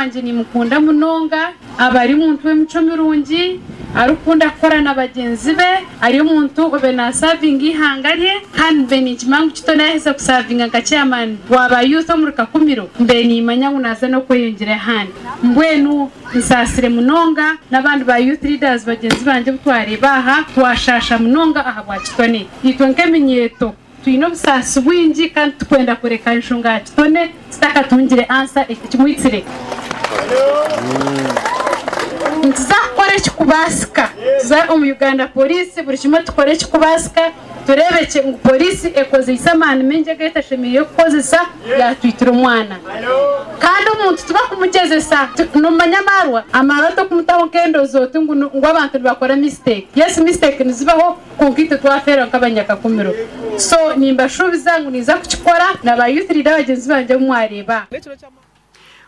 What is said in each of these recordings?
Wangye nimukunda munonga, aba ari omuntu w'emicwe mirungi, arikukunda kukora na bagyenzi be, ari omuntu obaire nasavinga eihanga rye kandi mbaire ninkimanya ngu Kitone yaaheza kusavinga nka chairman wa ba youth omuri Kakumiro, mbaire nimanya ngu naaza n'okweyongyera ahandi. Mbwenu nsaasire munonga n'abandi ba youth leaders bagyenzi bangye obu twareeba aha, twashaasha munonga ahabwa Kitone. Itwe nk'eminyeeto. Twine obusaasi bwingi kandi titukwenda kureka enshonga ya Kitone tutakatungire ansa ekimwitsire. Nituza kukora ekirikubaasika tuze omu Uganda Police buri kimwe tukore ekirikubaasika tureebekye ngu Police ekozeise amaani maingi agu etashemereire kukozesa yaatwitira omwana. Kandi omuntu tibakumugyezesa nomanya amaarwa? Amaarwa tokumutaho nk'endozi oti ngu abantu nibakora mistake. Yes mistake nizibaho. Kwonka itwe twafeerwa nk'abanyakakumiro. So nimbashuubiza ngu ninza kukikora na ba youth leader bagyenzi bangye abu mwareeba.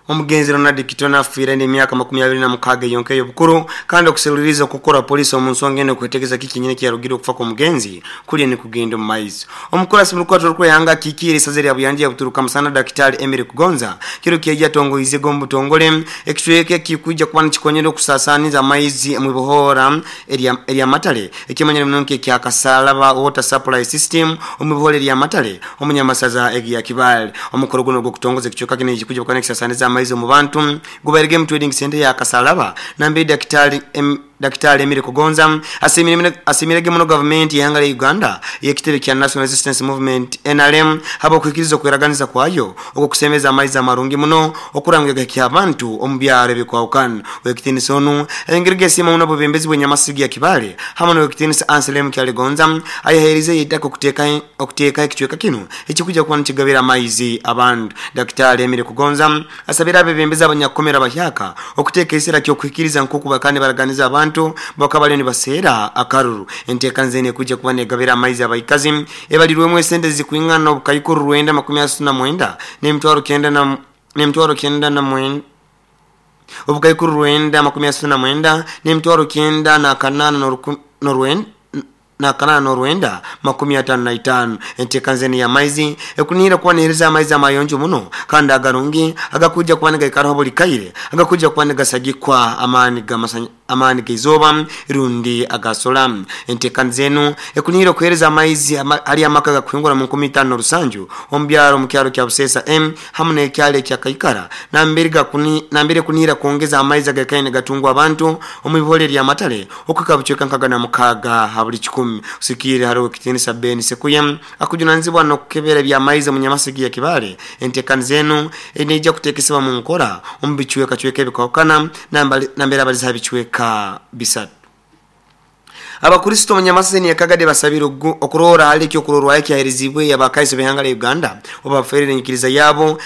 Omugenzi Ronald Kitone afiire n'emyaka 26 yonka ey'obukuru kandi okuseruliriza okukora poliisi omu nsonga enu kwetegeza kiki nyine ekiyarugire okufa kw'omugenzi kuriyo nikugenda omu maiso. Omukurasi mu rukwatiro rw'eihanga akikiire eisaza erya Buyanja Buturuka Musana Dakitari Emily Kugonza kiro kyeija atongoize omu butongore ekicweka ekikwija kuba nikikonyera okusasaaniza amaizi omu ibohoora erya Matale Ekimanyire muno nk'ekya Kasaalaba Water Supply System omu bihore erya Matale omu Nyamasaza erya Kibaale. Omukoro guno ogw'okutongoza ekicweka kinu ekikuja kuba nikisasaaniza amaizi omu bantu gubairege omu Trading Centre ya Kasaalaba nambere Dakitaali Dakitaali Emily Kugonza asiimirege muno gavumenti y'eihanga lya Uganda ey'ekitebe kya National Resistance Movement, nrm, habw'okuhikiriza okweraganiza kwayo ogw'okusemeza amaizi amarungi muno okurangwa gahikya abantu omu byaro ebikwahukana. Ow'ekitiinisa onu ayongeire yasiima muno obwebembezi bw'enyamasigi ya Kibaale hamu n'ow'ekitiinisa Anselm Kyaligonza ayaheerizeyo eitaka okuteekaho ekicweka kinu ekikwija kuba nikigabira amaizi abantu. Dakitaali Emily Kugonza asabire abebembezi abanyakukomera abahyaka okuteeka eisira ky'okuhikiriza nk'oku bakaba nibaraganiza abantu bakaba bariyo nibaseera akaruru. Enteekaniza enu ekwija kuba negabira amaizi abaikazi Ebalirwemu esente ezirikwingana obukaikuru rwenda 39 n'emitwaro kyenda na n'emitwaro kyenda na mwenda obukaikuru 939 n'emitwaro kyenda n'akanaana n'oruku n'orwenda n'akanaana n'orwenda 55. Enteekaniza enu ey'amaizi ekunihira kuba neehereza amaizi amayonjo muno kandi agarungi agakwija kuba nigaikaraho buli kaire agakwija kuba nigasagikwa amaani g'amasanya Amaani g'eizooba rundi aga sola. Enteekaniza enu ekunihire okuheereza amaizi hali amaka agakuhingura mu 5007 omu byaro omu kyaro kya Buseesa A hamu n'ekyaro ekya Kaikara nambere nambere ekunihira kwongeza amaizi agaikaire nigatungwa abantu omu ibihore erya Matale okuhika bucweka nkaga na mukaaga ha buli kikumi. Kusikiirira hali Owekitiinisa Ben Sekuye akujunanizibwa n'okukebera eby'amaizi omu Nyamasigi ya Kibaale, enteekaniza enu neija kuteekesebwa mu nkora omu bicwekacweka ebikwahukana nambere abalize ha bicweka bisatu. Abakristo omu Nyamaseni ya Kagadi basabire okuroora hali ekyokurorwaho ekyahereziibwe Abakaiso b'ihanga lya Uganda obu baferire enyikiriza yabo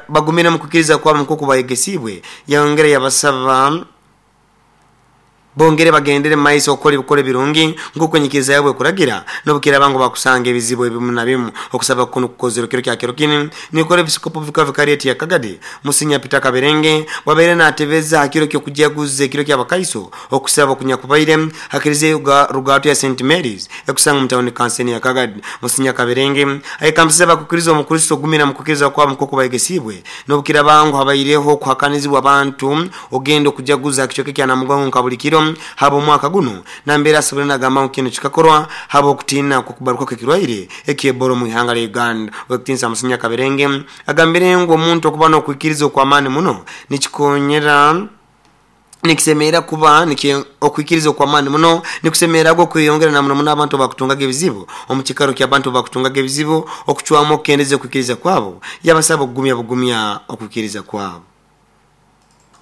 bagumire omu kwikiriza kwabo nk'oku bayegesiibwe. Yayongera yabasaba Bongere bagendere mu maiso okukora ebikora ebirungi nk'oku enyikiriza yabo ekuragira, n'obukiraaba ngu bakusanga ebizibu ebimu na bimu. Okusaba kunu kukozerwe kiro kya kiro kinu nikora Episikopo Vika Vikarieti ya Kagadi, Musinya Peter Kaberenge, bwabaire natebeza ha kiro ky'okujaguza ekiro ky'Abakaiso okusaba okunyakubaire ha Kiriziya Rugaato ya Saint Mary's ekusangwa omu tawuni kanseni ya Kagadi. Musinya Kaberenge ayekambisize abakukiriza Omukristo kugumira mu kukiriza kwabo nk'oku bayegesiibwe n'obukiraaba ngu habaireho okuhakanizibwa abantu Ogenda okujaguza ha kicweka ekya Namugongo nka buli kiro habw'omwaka gunu, nambere asoboire nagamba ngu kinu kikakorwa habw'okutiina kw'okubaruka kw'ekirwaire eky'Ebola omu ihanga lya Uganda. Ow'ekitiinisa Musinya Kaberenge agambire ngu omuntu okuba n'okwikiriza okw'amaani muno nikikonyera nikisemerra kuba okwikiriza okw'amaani muno nikusemerra gwo kweyongera na muno muno abantu abakutungaga ebizibu omu kikaro ky'abantu abakutungaga ebizibu okucwamu okukendeza okwikiriza kwabo. Yabasaba okugumya bugumya okwikiriza kwabo.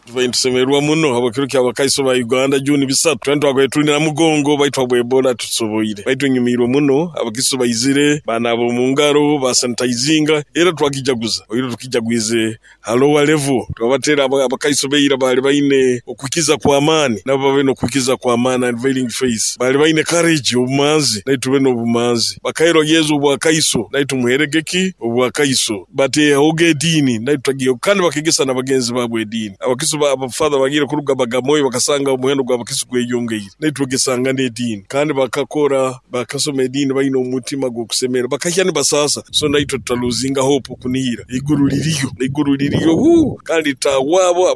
Tubaire nitusemererwa muno habw'ekiro ky'Abakaiso ba Uganda June bisatu. Twena twakabaire tuli Namugongo baitu habwa Ebola titusoboire. Baitu nyumiirwe muno, Abakaiso baizire, baanaaba omu ngaro, baasanitaizinga era twakijaguza. Oihireho tukijagwize ha lower level. Twabateera Abakaiso b'eira baali baine okwikiza kw'amaani nabo babe n'okwikiza kw'amaani, unveiling faith. Baali baine courage, obumanzi, naitwe tube n'obumanzi. Bakaheerwa Yesu obwakaiso, naitwe tumuheerege ki? Obwakaiso. Bateehoga ediini, naitwe tutagiihaho, kandi bakeegesa na bagenzi baabo ediini. Abakisu ba Abafather bagiire kuruga Bagamoyo bakasanga omuhendo gw'abakisu gweyongeire. Naitwe twegesangana ediini. Kandi bakakora, bakasoma ediini baine omutima gw'okusemererwa. Bakahya nibasaasa. So naitwe tutaluzinga hope, okunihira. Eiguru liriyo. Eiguru liriyo. Huu! Kandi litahwa abo.